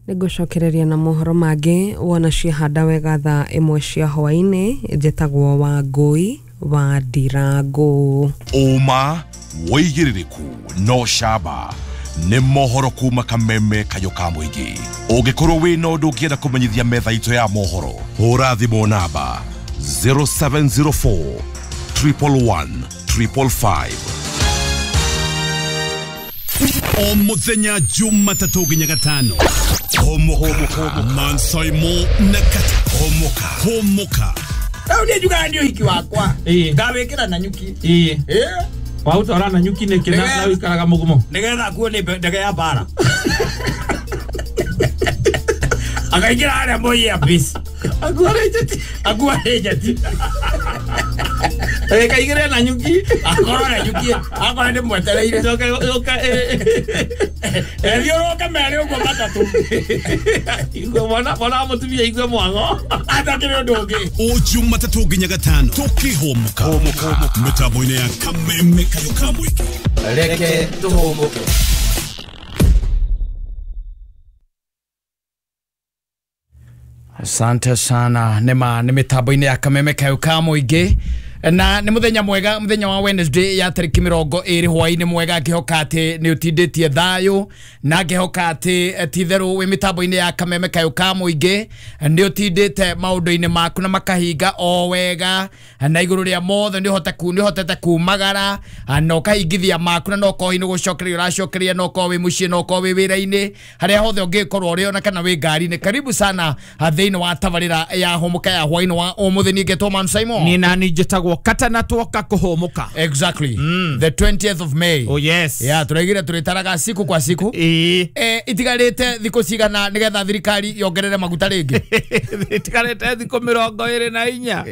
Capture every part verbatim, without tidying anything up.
Nĩngũcokereria na mohoro mangĩ wona ciahanda wega thaa ĩmwe cia hwaĩ-inĩ. Njĩtagwo Wangũi wa Ndirangũ. Ũma wĩigĩrĩrĩku no camba nĩ mohoro kuma Kameme Kayo ka mũingĩ. Ũngĩkorwo wĩna ũndũ ũngĩenda kũmenyithia metha itũ ya mohoro, hũra thimũ namba zero seven zero four triple one triple five. O muthenya Jumatatũ nginya Gatano. Homoka Mansaimo na Kata. Homoka Homoka. Rĩu niĩ njugaga nĩ ũhiki wakwa. Ngawĩkĩra na nyuki. Ĩĩ. Waũtwara na nyuki nĩkĩ na ũikaraga mũgumo? Nĩgetha akuo nĩ ndege ya mbara. Akaingĩra harĩa Moi Air Base. Akuo nĩ njeti. Akuo nĩ njeti. Kaingĩre na nyuki. Akorwo na nyuki, akorwo nĩ mwetereire. Ethiũrũke merĩ ũguo matatũ. Igwe mwana mwana mũtumia igwe mwango. Atakĩrĩ ũndũ ũngĩ. O Jumatatũ nginya Gatano tũkĩhũmũka mĩtambo-inĩ ya Kameme Kayo ka mũingĩ. Reke tũhũmũke. Asante sana. Nema nĩ mĩtambo-inĩ ya Kameme Kayo ka mũingĩ. Na nĩ mũthenya mwega, mũthenya wa Wednesday ya tarĩki mĩrongo ĩrĩ hwaĩ-inĩ mwega, ngĩhoka atĩ nĩ ũtindĩtie thayũ na ngĩhoka atĩ ti-itherũ wĩ mĩtambo-inĩ ya Kameme Kayo ka mũingĩ nĩ ũtindĩte maũndũ-inĩ maku na makahinga o wega, na igũrũ rĩa mothe nĩ ũhote nĩ ũhotete kumagara na ũkahingithia maku, na no ũkorwo nĩ gũcokeria ũracokeria, no ũkorwo wĩ mũciĩ, no ũkorwo wĩ wĩra-inĩ, harĩa hothe ũngĩkorwo ũrĩ ona kana wĩ ngari-inĩ. Karibu sana thĩinĩ wa tabarĩra ya Homoka ya hwaĩ-inĩ wa ũmũthĩ. Niĩ ngetwo Man Simon. Niĩ nani njĩtagwo Katana twoka kuhumuka. Exactly. Mm. The twentieth of May. Oh yes. Yeah, turaigire turitaraga siku kwa siku. Eh. Eh, itigarite thikũ cigana nigetha thirikari yongerere maguta rĩngĩ? Itigarite thikũ mĩrongo ĩrĩ na inya.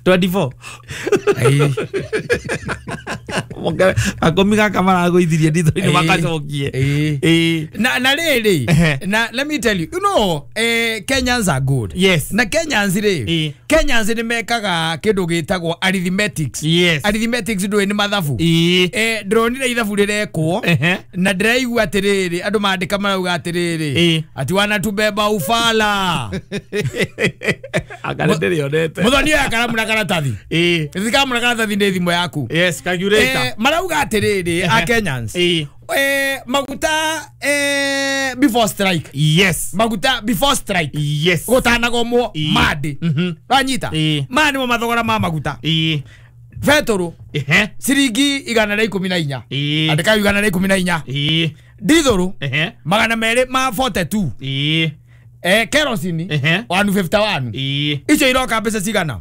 twenty-four. Akomi gaka maragũithirie nditho-inĩ makacokie. Eh. Na na rĩrĩ, na let me tell you, you know, eh, Kenyans are good. Yes. Na Kenyans rĩ, Kenyans nĩ mekaga kĩndũ gĩtagwo arithmetics. Yes. Arithmetics ndũĩ nĩ mathabu. Eh, ndĩronire ithabu rĩrekwo na ndĩraigua atĩrĩrĩ, andũ mandĩka marauga atĩrĩrĩ, ati wanatubeba ufala. Akare ndĩrĩonete. Mũthoni oya karamu na karatathi. Eh. Karamu na karatathi nĩ thimũ yaku. Yes, calculator. Eh, marauga atĩrĩrĩ a Kenyans. Eh. Eh, maguta eh before strike. Yes. Maguta before strike. Yes. Gũtanagomwo mandi. Mhm. Wanyita? Eh. Maya nĩmo mathogora ma maguta. Eh. Betũrũ. Ehe. Ciringi igana rĩa ikũmi na inya. Eh. Andĩka igana rĩa ikũmi na inya. Eh. Ndithũrũ. Ehe. Magana merĩ ma forty-two. Eh. Eh, kerosene. Ehe. one fifty-one. Eh. Icio iroka mbeca cigana?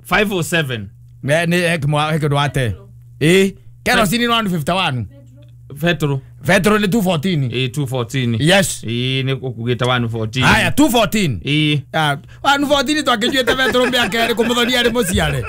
five oh seven. Ne ne hekimwa hekimwa ate. Eh, kerosene one fifty-one. Petro. Petro ni two fourteen. Eh, two fourteen. Yes. Eh, ni kugita one fourteen. Haya, two fourteen. Eh. Ah, one fourteen twakijuete Petro mĩaka ĩrĩ kũmũthonia arĩ mũciare.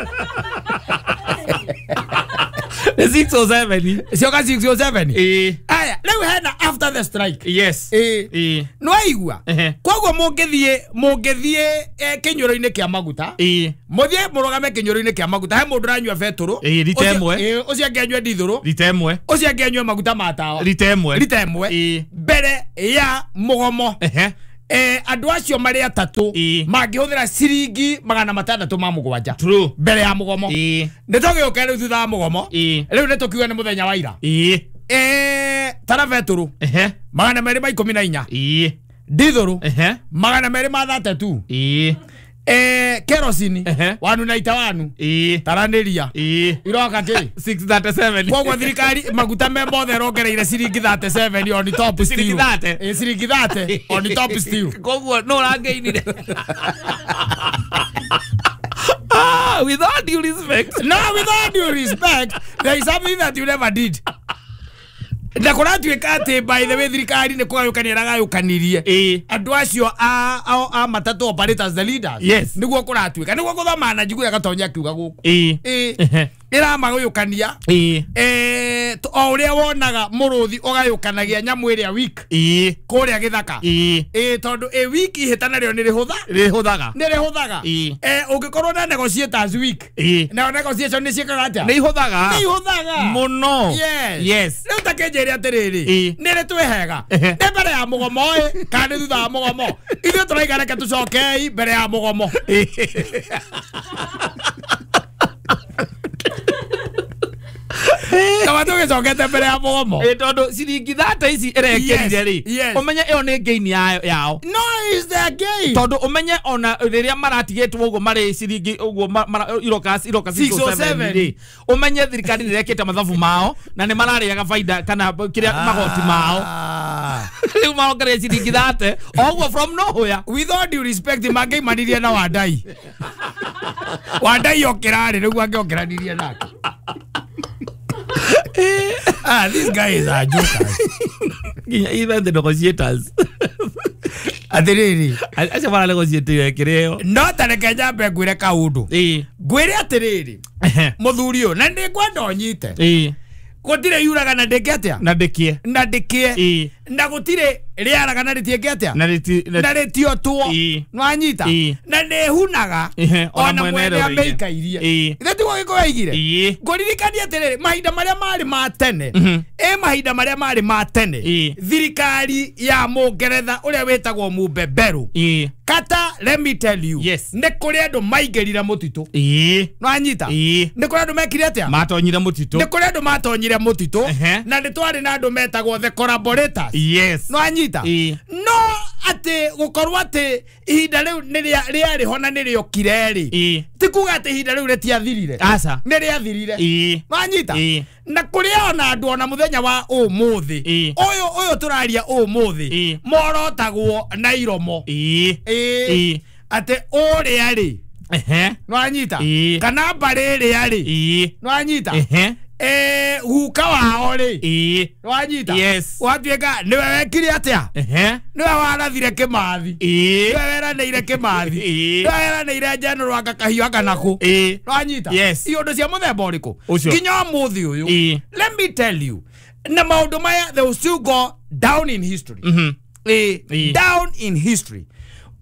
six oh seven. Cioka six oh seven. Eh. Aya, rĩu hena after the strike. Yes. Eh. Eh. Nĩwaigua? Koguo mũngĩthiĩ mũngĩthiĩ kĩnyũrũ-inĩ kĩa maguta. Eh. Mũthiĩ mũrũgame kĩnyũrũ-inĩ kĩa maguta, he mũndũ ũranyua betũrũ. Eh, rita ĩmwe. Eh, ũcio angĩ anyue ndithũrũ. Rita ĩmwe. Ũcio angĩ anyue maguta ma tawa. Rita ĩmwe. Rita ĩmwe. Eh. Mbere ya mũgomo. Ehe. Eh, andũ acio marĩ atatũ mangĩhũthĩra ciringi magana matandatũ ma mũgwanja. True. Mbere ya mũgomo. Eh. Nĩ tũgĩũke rĩu thutha wa mũgomo. Eh. Rĩu nĩ tũkiuga nĩ mũthenya wa ira. Eh. Eh, tara betũrũ. Ehe. Magana merĩ ma ikũmi na inya. Eh. Ndithũrũ. Ehe. Magana merĩ ma thirty-two. Eh. Eh, kerosene. Ehe. one ninety-one. Eh. Taranĩria. Eh. Iroka kĩ? six thirty-seven. Koguo thirikari maguta me mothe ĩrongereire ciringi thirty-seven on top still. Ciringi thirty? Eh, ciringi thirty on top still. Koguo no ũrangĩinire. Ah, with all due respect. No, with all due respect, there is something that you never did. Na kũratuĩka atĩ by the way thirikari nĩ kũgayũkania ĩragayũkanirie andũ acio a a matatũ operators, the leaders. Yes. Nĩguo kũratuĩka nĩguo gũthoma na njiguaga Gatonya akiuga gũkũ. Ĩĩ. Ĩĩ. Ĩramagũyũkania eh o ũrĩa wonaga mũrũthi ũgayũkanagia nyamũ ĩrĩa weak kũrĩa gĩthaka ĩ tondũ ĩ weak ihĩtana rĩo nĩ rĩhũtha rĩhũthaga nĩ rĩhũthaga eh ũngĩkorwo na negotiators weak na negotiation nĩ ciĩkaga atĩa nĩ ihũthaga nĩ ihũthaga mũno yes yes rĩu ta kĩnjĩre atĩrĩrĩ nĩ rĩ twĩhega nĩ mbere ya mũgomo ĩ kana nĩ thutha wa mũgomo ithuĩ tũraiga reke tũcokei mbere ya mũgomo kama tũgĩcokete mbere ya mũgomo ĩ tondũ ciringi thate ici ĩrekĩrire rĩ ũmenye ĩyo nĩ gain yao no is their gain tondũ ũmenye ona rĩrĩa maratigĩtwo ũguo marĩ ciringi ũguo iroka iroka six oh seven rĩ ũmenye thirikari nĩ ĩrekĩte mathabu mao na nĩ mararĩaga baida kana kĩrĩa magoti mao rĩu marongereire ciringi thate oguo from nowhere with all due respect mangĩimanirie na Wandai Wandai okĩrarĩ nĩguo angĩongeranirie nake. Ah, this guy is a joker. Even the negotiators. Atiriri. Acio mara negotiate kĩrĩo. No ta reke nyambe ngwĩre kaũndũ. Ngwĩre atĩrĩrĩ. Mũthuri ũyũ na nĩngwenda ũnyite. Gũtirĩ yuraga na ndĩke atĩa? Na ndĩkie. Na ndĩkie. Na gũtirĩ rĩaraga na rĩtiĩke atĩa? Na rĩtiotwo. Nĩwanyita? Na nĩhunaga ona mwene amĩikairie. Ithe tiguo Gĩkũyũ aigire? Ngũririkanie atĩrĩrĩ mahinda marĩa marĩ ma tene ĩ mahinda marĩa marĩ ma tene thirikari ya Mũngeretha ũrĩa wĩtagwo Mũbeberu Kata, let me tell you, yes. Nĩ kũrĩ andũ maingĩrire mũtitũ. Nĩwanyita? Nĩ kũrĩ andũ mekire atĩa? Matonyire mũtitũ. Nĩ kũrĩ andũ matonyire mũtitũ na nĩ twarĩ na andũ metagwo the collaborators. Yes. Nĩwanyita? No atĩ gũkorwo atĩ ihinda rĩu nĩ rĩarĩ ho na nĩ rĩokire rĩ ti kuga atĩ ihinda rĩu rĩtiathirire. Aca. Nĩ rĩathirire. Nĩwanyita? Na kũrĩ ona andũ ona mũthenya wa ũmũthĩ ũyũ ũyũ tũraria ũmũthĩ morotagwo na iromo ĩ atĩ ũrĩa rĩ nĩwanyita kana mbarĩ ĩrĩa rĩ nĩwanyita eh guka wao rĩ nĩwanyita yes watuĩka nĩwe wekire atĩa nĩwe warathire Kĩmathi nĩwe weranĩire Kĩmathi nĩwe weranĩire General anga kahiũ anga nakũ nĩwanyita yes iũndũ cia mũthemba ũrĩkũ nginya ũmũthĩ ũyũ let me tell you na maũndũ maya they will still go down in history eh down in history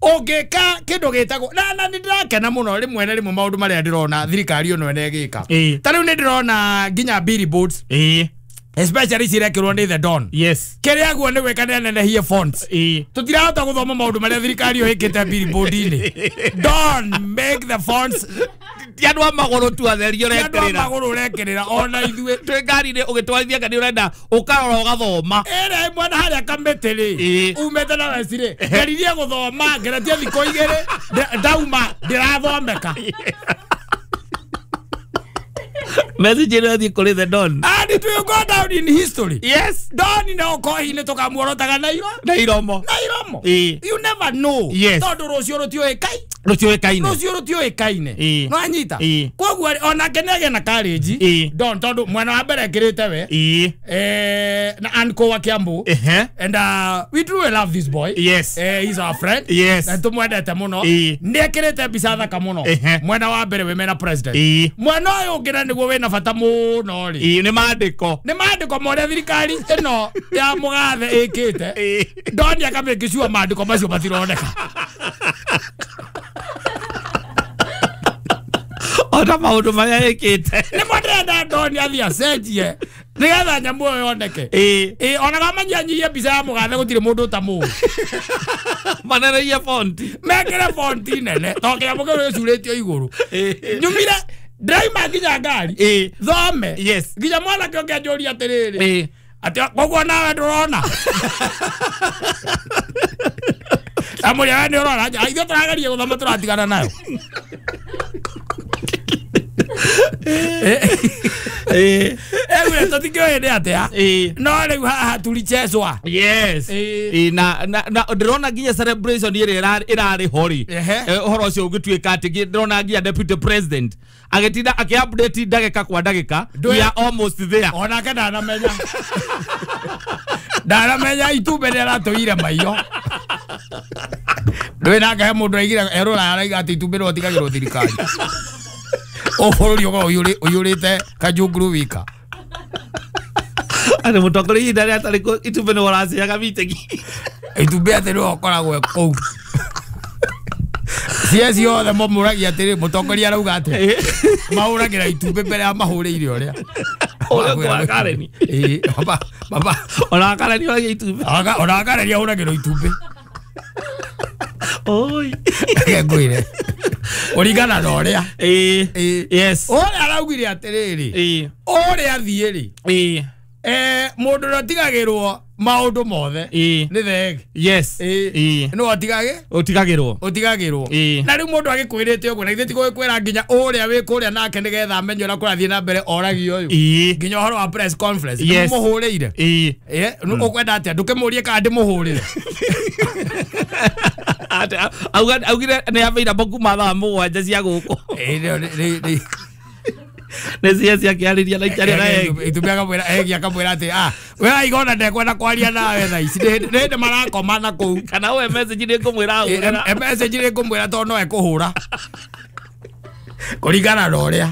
ũngĩka kĩndũ gĩtagwo na na nĩ ndĩrakena mũno rĩmwe na rĩmwe maũndũ marĩa ndĩrona thirikari ĩno ĩgĩka ta rĩu nĩ ndĩrona nginya billboards especially cirekĩrwo nĩ the Don yes kĩrĩa guo nĩ gwĩka nĩ anenehie fonts tũtirahota gũthoma maũndũ marĩa thirikari ĩyo ĩkĩte billboard-inĩ Don make the fonts ti andũ a magũrũ tu atheri andũ a ũrekĩrĩra magũrũ ũrekĩrĩra ona ithuĩ twĩ ngari-inĩ ũgĩtwarithia kana ũrenda ũkarora ũgathoma ĩrĩa ĩmwe na harĩa kamĩtĩ rĩ umĩte na weci rĩ ngeririe gũthoma ngeretie thikũ igĩrĩ ndauma ndĩrathomeka message ĩno ĩrathiĩ kũrĩ the Don and it will go down in history yes Don na ũkohi nĩ tũkamuorotaga na iro na iromo na iromo you never know yes tondũ rũciũ rũtiũĩkaine rũtiũĩkaine rũciũ rũtiũĩkaine nĩwanyita koguo onake nĩagĩa na courage Don tondũ mwena wa mbere ekĩrĩte we eh na Anko wa Kiambu and uh, we truly love this boy yes eh, he's our friend yes na tũmwendete mũno nĩ ekĩrĩte mbica thaka mũno mwena wa mbere wĩ mena president mwena ũyũ ũngĩ na nĩguo wĩna bata mũno rĩ nĩ maandĩko nĩ maandĩko ma ũrĩa thirikari ĩno ya mũgathe ĩkĩte Don akamake sure maandĩko macio matironeka ona maũndũ marĩa ĩkĩte nĩmo ndĩrenda Don athiĩ acenjie nĩgetha nyamũ ĩyo yoneke ĩ ona kamanyihanyihie mbica ya mũgathe gũtirĩ mũndũ ũtamũĩ manenerie fonti mekĩre fonti nene tondũ kĩnyamũ kĩu gĩcurĩtio igũrũ nyumire ndĩraima nginya ngari thome yes nginya mwanake ũngĩ anjũria atĩrĩrĩ atĩ koguo nawe ndũrona amũria we nĩ ũrona ithuĩ tũrageria gũthoma tũratigana nayo Ewe tũtikĩũĩ nĩ atĩa no rĩu haha tulichezwa yes na na ndĩrona nginya celebration ĩrĩa ĩrarĩ ho rĩ ũhoro ũcio ũgĩtuĩka atĩ ndĩrona nginya deputy president agĩtinda akĩ-update ndagĩka kwa ndagĩka we are almost there onake ndanamenya ndanamenya itumbĩ nĩ aratũire maiyo ndũĩ nake he mũndũ aigire erũra araiga atĩ itumbĩ no tigagĩrwo thirikari O bũrũri ũkoragwo ũiyũrĩte kajunguru wika. Atĩ mũtongoria ihinda rĩrĩa atarĩ kuo itumbĩ nĩwe ũraciaga meeting. Itumbĩ atĩ nĩwe ũkoragwo kũu. Cie ciothe mamũragia atĩrĩ mũtongoria arauga atĩa. Mahũragĩra itumbĩ mbere ya mahũrĩire ũrĩa. Ũrĩa kwa Kareni. Ĩĩ, baba baba ona Kareni oragia itumbĩ. Ona Kareni ahũragĩrwo itumbĩ. Oi. Ngwĩre. Ũringana na ũrĩa. Ĩĩ. Yes. Ũrĩa araugire atĩrĩrĩ. Ĩĩ. Ũrĩa athiĩ rĩ. Ĩĩ. Eh, mũndũ ũrĩa ũtigagĩrwo maũndũ mothe nĩ thenge. Yes. Ĩĩ. Nĩwe ũtigagĩ? Ũtigagĩrwo. Ũtigagĩrwo. Na rĩu mũndũ agĩkwĩrĩte ũguo na githĩ ti gũgĩkwĩra nginya ũrĩa wĩ kũrĩa nake nĩgetha amenye ũrĩa kũrathiĩ na mbere oragio ũyũ. Nginya ũhoro wa press conference. Yes. Nĩmũhũrĩire. Ĩĩ. Ĩĩ, ũkwenda atĩa? Ndũkĩmũrie kana ndĩmũhũrĩre. Auga augire nĩ available kuma thaa mũgwanja cia gũkũ. Ĩĩ, nĩ nĩ nĩ cia ciakĩarĩria na ikarĩa na egi. Itumbĩ akamwĩra egi akamwĩra atĩ ah we waigona ndekwenda kwaria nawe thaa ici nĩ hĩndĩ marakoma na kũu. Kana we message nĩ ngũmwĩra ahũrĩra. Message nĩ ngũmwĩra tondũ no ekũhũra. Kũringana na ũrĩa.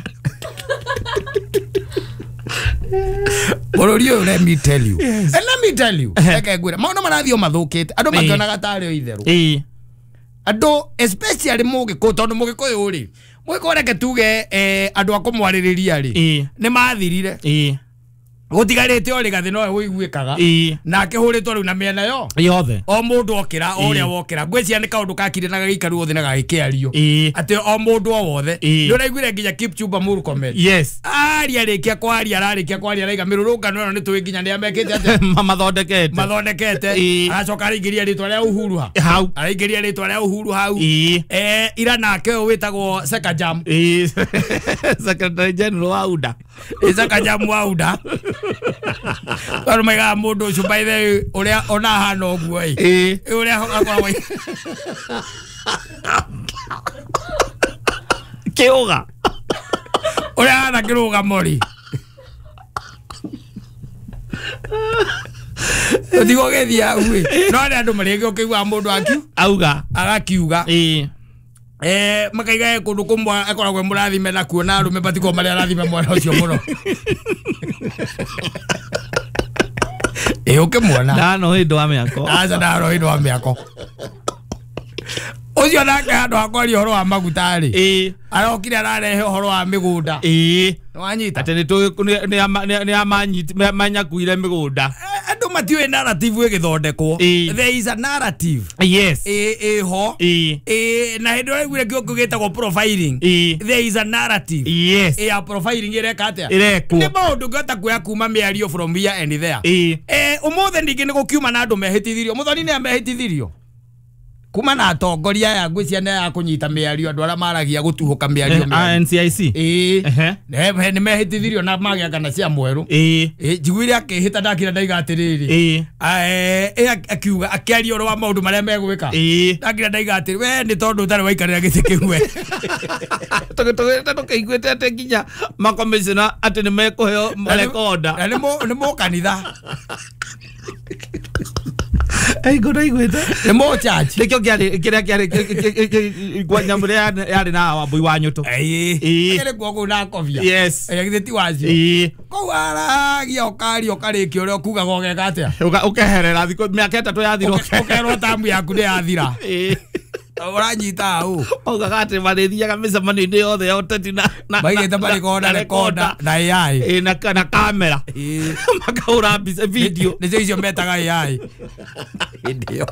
Bũrũri ũyũ let me tell you. Yes. And let me tell you. Reke ngwĩre maũndũ marathiĩ o mathũkĩte andũ makĩonaga tarĩ o itherũ. Ĩĩ. Andũ especially mũgĩkũyũ tondũ mũgĩkũyũ rĩ mũgĩkũyũ reke tuge eh, andũ a kũmwarĩrĩria rĩ Ĩĩ. nĩ mathirire. Ĩĩ. Gũtigarĩte o Rigathĩ nowe ũiguĩkaga. Ĩĩ. Na akĩhũrĩtwo rĩu na mĩena yo Yothe. o mũndũ okĩra o ũrĩa wokĩra ngwĩciria nĩ kaũndũ kakire na gagĩikarwo thĩ na gagĩkĩario Ĩĩ. atĩ o mũndũ o wothe. Ĩĩ. Nĩ ũraiguire nginya Kipchumba Murkomen. Yes. Aria rĩkia kwaria ararĩkia kwaria araiga mĩrũrũngano ĩno nĩ tũĩ nginya nĩ amekĩte atĩa Mathondekete. mathondekete. Ĩĩ. Aracoka araingĩria rĩtwa rĩa Uhuru ha Hau. araingĩria rĩtwa rĩa Uhuru hau. Ĩĩ. Eh, ira nake ũyũ wĩtagwo Sekajam. Ĩĩ. Secretary General wa U D A. Sekajam wa U D A. Tondũ maigaga mũndũ ũcio by the way ũrĩa ona ahana ũguo ĩ. Ĩĩ. Ũrĩa akoragwo Kĩũga. Ũrĩa ahana kĩrũgamo rĩ. Ũtigwo ũgĩthiĩ hau ĩ. No nĩ andũ marĩngĩ ũkĩiguaga mũndũ akiu Auga. Agakiuga. Ĩĩ. Eh, makaiga kũndũ kũmwe akoragwo e mũrathime na kuona arũme matikoragwo marĩ arathime mwana ũcio mũno. Ĩ ũkĩmuona. Ndano hĩndĩ wa mĩako. Aca ndano hĩndĩ wa mĩako. Ũcio nake handũ ha kwaria ũhoro wa maguta rĩ. Ĩĩ. Arokire ararehe ũhoro wa mĩgũnda. Ĩĩ. Nĩwanyita? Atĩ nĩ tũĩ nĩ manyakuire mĩgũnda. Andũ matiũĩ narrative ĩgĩthondekwo. There is a narrative. Yes. Ĩ ĩho. Ĩĩ. Ĩ na hĩndĩ ũraiguire kĩo gĩtagwo profiling. Ĩĩ. There is a narrative. Yes. Ĩ ya profiling ĩreka atĩa? Ĩrekwo. Nĩ maũndũ ngĩhota kuoya kuma mĩario from here and there. Ĩĩ. Eh, ũmũthĩ ningĩ nĩ gũkiuma na andũ mehĩtithirio. Mũthoni nĩ amehĩtithirio. Kuma na atongoria aya ngwĩciria nĩ aya kũnyita mĩario andũ arĩa maragia gũtuhũka mĩario mĩario. N C I C. Ĩĩ. Nĩ mehĩtithirio na magĩa kana cia mwerũ. Ĩĩ. Ĩĩ, njiguire akĩhĩta ndakira ndaiga atĩrĩrĩ. Ĩĩ. Ĩ akiuga akĩaria ũhoro wa maũndũ marĩa megwĩka. Ĩĩ. Ndakira ndaiga atĩrĩ we nĩ tondũ ũtarĩ waikarĩra gĩtĩ kĩu we. Tũgĩtũgĩte tũkĩiguĩte atĩ nginya makomishona atĩ nĩ mekũheo rekoda. Na nĩ mũkanitha. Ei ngona iguĩte. Nĩ mũchachi. Nĩkĩo kĩarĩ kĩrĩa kĩarĩ nyamũ ĩrĩa yarĩ na Wambui wa Nyũtũ. Ĩĩ. Kĩrĩ kuo kũu na kobia. Yes. Ĩ githĩ ti wacio. Ĩĩ. Kũu aragia ũkaria ũkarĩkia ũrĩa ũkugaga ũgeka atĩa? Ũkeherera thikũ mĩaka ĩtatũ yathira. Ũkerwo tamu yaku nĩ yathira. Ĩĩ. Ũranyita hau. Augaga atĩ marĩthiaga mĩcemanio-inĩ yothe ya ũteti na maigĩte marĩkorwo na rekoda na A I. Ĩĩ, na na kamera. Ĩĩ. Makahũra mbica video. Nĩcio icio metaga A I. Hĩndĩ ĩyo.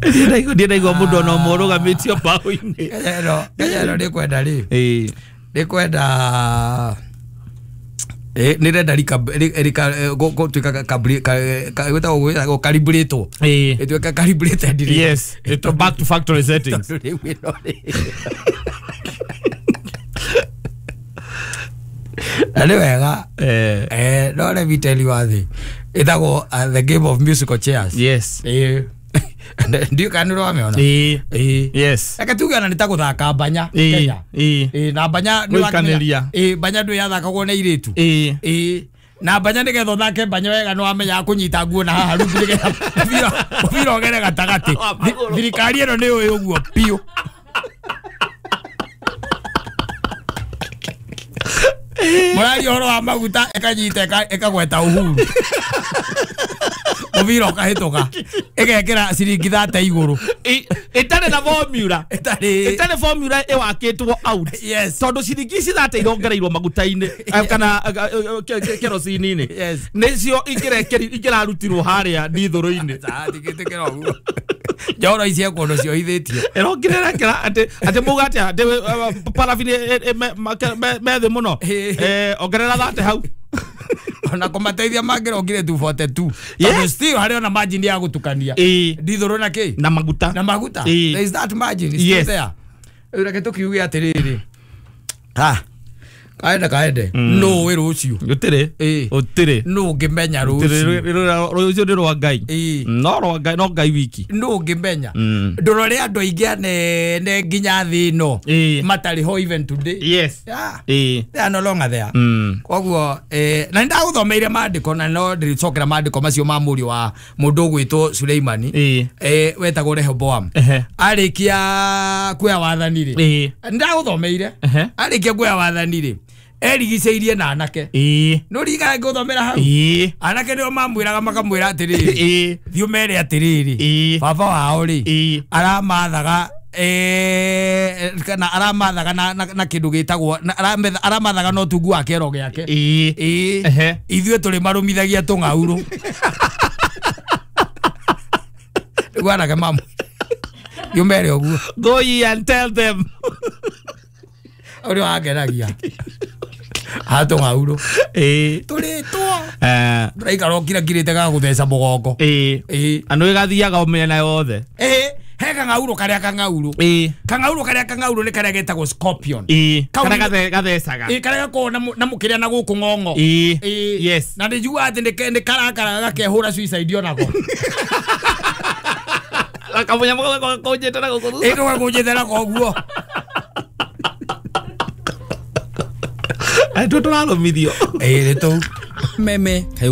Ndiĩ ndaigua mũndũ ona ũmwe ũrũgamĩtio mbaũ-inĩ. Kenya ĩno Kenya ĩno nĩkwenda rĩ. Ĩĩ. Nĩkwenda Eh, nä renda gå tuä ka calibrated Ĩĩ. ä tuä calibrated Yes. It back to factory settings. Na nä wega Eh. eh no let me tell you one thing ĩtagwo uh, the game of musical chairs. Yes. Ĩĩ. Ndiũ kana nĩ ũramĩona. Ĩĩ. Ĩĩ. Yes. Reke tuge ona nĩ ta gũthaka mbanya Ĩĩ. Kenya. Ĩĩ. Ĩĩ, na mbanya nĩ Gũikanĩria. Ĩĩ, mbanya ndũ yathakagwo nĩ airĩtu. Ĩĩ. Ĩĩ. Na mbanya nĩgetha ũthake mbanya wega nĩ wamenyaga kũnyita nguo na haha rungu nĩgetha mũbira mũbira ũgere gatagatĩ. Thirikari ĩno nĩ yũĩ ũguo biũ. Mũraria ũhoro wa maguta ĩkanyita ĩkagweta Uhuru. Mũbira ũkahĩtũka. Ĩgekĩra ciringi thate igũrũ. Ĩtarĩ na formula. Ĩtarĩ. Ĩtarĩ formula ĩwakĩtwo out. Yes. Tondũ ciringi ici thate irongereirwo maguta-inĩ kana kerosene-inĩ. Yes. Nĩcio ingĩrarutirwo harĩa ndithũrũ-inĩ. Ndingĩtĩkĩra ũguo. Njoro ici kũndũ ciohithĩtio. Ĩrongerera atĩ atĩ muga atĩa atĩ parabini me thĩ mũno. Eh ongerera thate hau. Ona kũmateithia mangĩrongire two forty-two. Tondũ still harĩ ona margin ya gũtukania. Ndithũrũ na kĩ? Na maguta. Na maguta. There is that margin is still there. Reke tũkiuge atĩrĩrĩ. Ha. Kaende kaende. No wĩ rũciũ. Gũtirĩ. Gũtirĩ. No ũngĩmenya rũciũ. Rũciũ nĩ rwa Ngai. No rwa Ngai no Ngai wiki. No ũngĩmenya. Ndũrore andũ aingĩ anene nginya thĩ ĩno matarĩ ho even today. Yes. Yeah. They are no longer there. Koguo eh na ndagũthomeire maandĩko na no ndĩrĩcokera maandĩko macio ma mũriũ wa mũndũ ũgwĩtwo Suleimani eh wetagwo Rehoboam. Arĩkia kuoya wathani rĩ. Ndagũthomeire. Arĩkia kuoya wathani rĩ. Erigiceirie na anake. No ririkana ngũthomera hau. Anake nĩo mamwĩraga makamwĩra atĩrĩrĩ. Thiĩ ũmere atĩrĩrĩ. Baba wao rĩ aramathaga eh kana aramathaga na na kĩndũ gĩtagwo aramathaga no tungu wa kĩero gĩake. Ĩĩ. Ithuĩ tũrĩ marũmithagia tũng'aurũ. Nĩguo anake mamu. Thiĩ ũmere ũguo. Go ye and tell them. Ũrĩa wangenagia. Hato ngauro. Eh. Tũrĩtwo. Eh. Ndũraikara ũkirakirĩte ga gũtheca mũgongo. Eh. Eh. Andũ ĩgathiaga o mĩena yothe. Eh. He kang'aurũ karĩa kang'aurũ. Eh. Kang'aurũ karĩa kang'aurũ nĩ karĩa getagwo scorpion. Eh. Karĩa gathecaga. Eh, karĩa gakoragwo na mũkĩrĩa na gũkũ ng'ong'o. Eh. Yes. Na ndĩnjiguaga atĩ nĩ karakara gakehũra suicide onako. Kamũnyamũ gakũnjĩte na gũkũ. Ĩ gakũnjĩte na koguo. Andũ tũrarũmithio. Ĩ nĩ tũu. Meme kayo